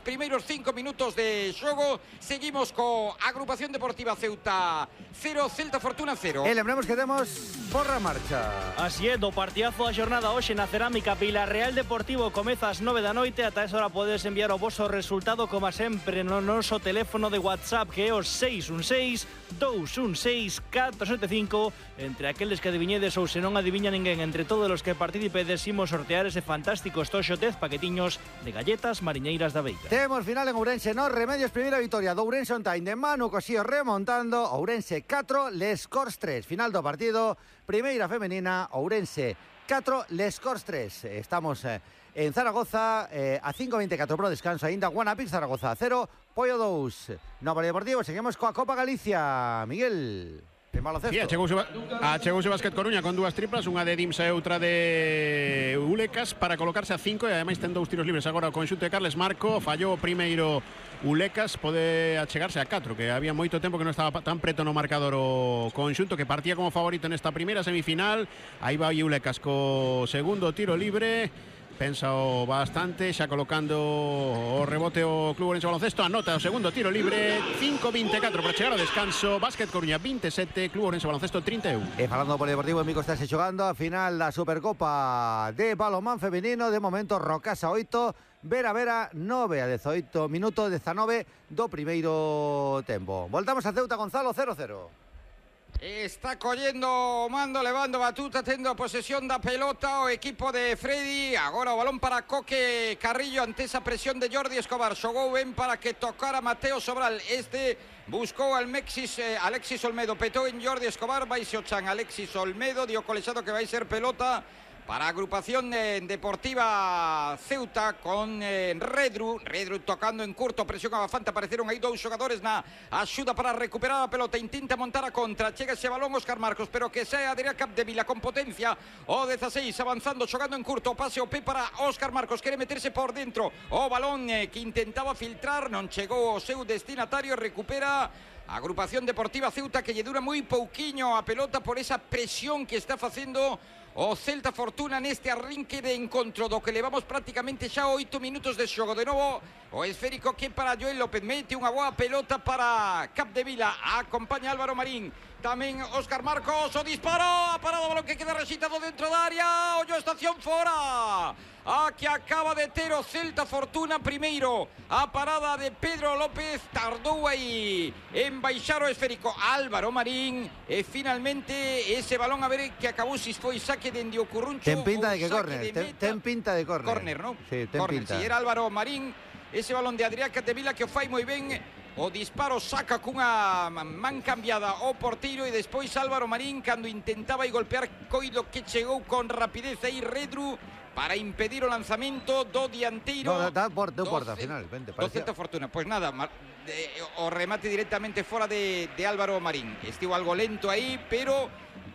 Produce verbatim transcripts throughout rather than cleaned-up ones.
Primeiros cinco minutos de xogo. Seguimos co Agrupación Deportiva Ceuta cero, Celta Fortuna cero. E lembramos que temos porra marcha. Así é, do partidazo da xornada hoxe na Cerámica Vilarreal Deportivo comeza ás nove da noite. Ata esa hora podes enviar o voso resultado como sempre no noso teléfono de WhatsApp, que é o seis un seis, dous un seis, catro sete cinco. Entre aqueles que adiviñedes ou se non adiviña ninguén, entre todos os que participedes, imos sortear ese fantástico estoxo dez paquetiños de galletas mariñeiras da Veiga. Temos final en Ourense, no Remedios, primeira victoria do Ourense on time de Manu Cosío remontando. Ourense catro, Les Corts tres. Final do partido, primeira femenina, Ourense catro, Les Corts tres. Estamos eh, en Zaragoza, eh, a cinco veinticuatro pro descanso aínda. Guanapix Zaragoza cero, Pollo dous. No Polideportivo, seguimos coa Copa Galicia. Miguel, en baloncesto. Sí, achegouse, achegouse Básquet Coruña con dúas triplas, unha de Dimsa e outra de Ulecas para colocarse a cinco, e ademais ten dous tiros libres agora o conxunto de Carles Marco. Fallou o primeiro Ulecas, pode achegarse a catro, que había moito tempo que non estaba tan preto no marcador o conxunto, que partía como favorito nesta primeira semifinal. Aí vai Ulecas co segundo tiro libre. Pensa o bastante, xa colocando o rebote o Club Ourense Baloncesto. Anota o segundo tiro libre, cinco veinticuatro para chegar ao descanso. Básquet Coruña veintisiete, Club Ourense Baloncesto trinta e un. E falando do Polideportivo, en Mico estáse xogando a final da Supercopa de balonmán femenino. De momento, Rocasa oito, Vera Vera nove a dezoito, minuto dezanove do primeiro tempo. Voltamos a Ceuta, Gonzalo, cero cero. Está collendo o mando, levando batuta, tendo posesión da pelota o equipo de Freddy. Agora o balón para Coque Carrillo ante esa presión de Jordi Escobar. Xogou ben para que tocara Mateo Sobral. Este buscou al Mexis, eh, Alexis Olmedo, petou en Jordi Escobar, vai se o chan Alexis Olmedo, dio colexado que vai ser pelota para a Agrupación eh, Deportiva Ceuta con eh, Redru. Redru tocando en curto, presión abafante. Apareceron aí dous xogadores na axuda para recuperar a pelota. Intenta montar a contra, chega ese balón Óscar Marcos, pero que sae Adrián Capdevila con potencia. O dezaseis avanzando, xogando en curto, pase o pé para Óscar Marcos, quere meterse por dentro. O balón eh, que intentaba filtrar, non chegou ao seu destinatario. Recupera a Agrupación Deportiva Ceuta, que lle dura moi pouquiño a pelota por esa presión que está facendo o Celta Fortuna neste arrinque de encontro, do que levamos prácticamente xa oito minutos de xogo. De novo o esférico que para Joel López, mete unha boa pelota para Capdevila, acompaña Álvaro Marín, tamén Óscar Marcos, o disparo, a parado, balón que queda rexitado dentro da área, ollo estación fora. A que acaba de ter o Celta Fortuna primeiro, a parada de Pedro López, tardou aí en baixar o esférico Álvaro Marín, e finalmente ese balón, a ver que acabou, se foi saque dende o Curruncho. Ten pinta de que córner, ten, ten pinta de córner. Córner, non? Sí, ten corner, pinta. Si era Álvaro Marín, ese balón de Adrián Capdevila que o fai moi ben. O disparo saca cunha man cambiada o porteiro, e despois Álvaro Marín, cando intentaba aí golpear, coido que chegou con rapidez aí Redru para impedir o lanzamento do dianteiro. No, da, por, do porta, final, vente, do Celta Fortuna. Pois pues nada, de, o remate directamente fora de, de Álvaro Marín. Estivo algo lento aí, pero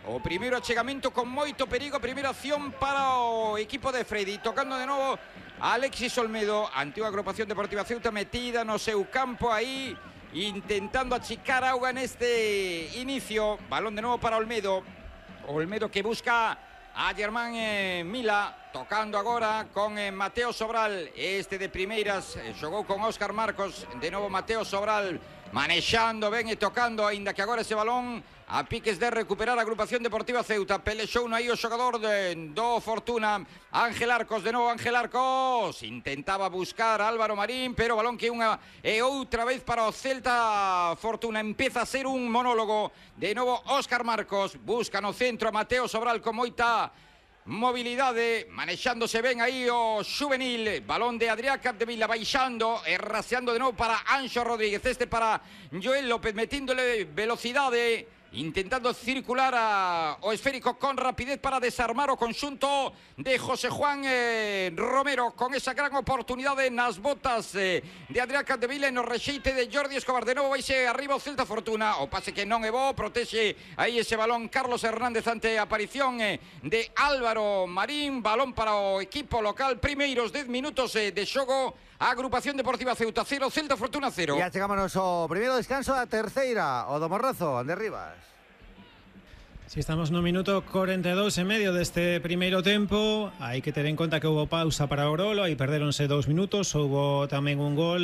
o primeiro achegamento con moito perigo. Primeira acción para o equipo de Freddy, tocando de novo Alexis Olmedo, ante a Agrupación Deportiva Ceuta metida no seu campo aí, intentando achicar auga neste inicio. Balón de novo para Olmedo. Olmedo que busca a Germán eh, Mila, tocando agora con eh, Mateo Sobral. Este de primeiras eh, xogou con Óscar Marcos. De novo Mateo Sobral manexando ben e tocando, aínda que agora ese balón a piques de recuperar a Agrupación Deportiva Ceuta. Pelexou aí o xogador de, do Fortuna, Ángel Arcos. De novo Ángel Arcos intentaba buscar a Álvaro Marín, pero balón que unha e outra vez para o Celta Fortuna. Empeza a ser un monólogo. De novo Óscar Marcos busca no centro a Mateo Sobral con moita mobilidade, manexándose ben aí o xuvenil. Balón de Adrián Capdevila baixando e raseando de novo para Anxo Rodríguez. Este para Joel López, metíndole velocidade, intentando circular a, o esférico con rapidez para desarmar o conxunto de José Juan eh, Romero, con esa gran oportunidade nas botas eh, de Adrián Capdevila e no rexeite de Jordi Escobar. De novo vaise arriba o Celta Fortuna, o pase que non é bo, protexe aí ese balón Carlos Hernández ante a aparición eh, de Álvaro Marín. Balón para o equipo local, primeiros dez minutos eh, de xogo. A Agrupación Deportiva Ceuta cero, Celta Fortuna cero. E chegámonos ao primeiro descanso, a terceira, o do Morrazo, Ander Rivas. Si estamos no minuto cuarenta e dous e medio deste primeiro tempo, hai que ter en conta que houbo pausa para o Orolo, aí perdéronse dous minutos, houbo tamén un gol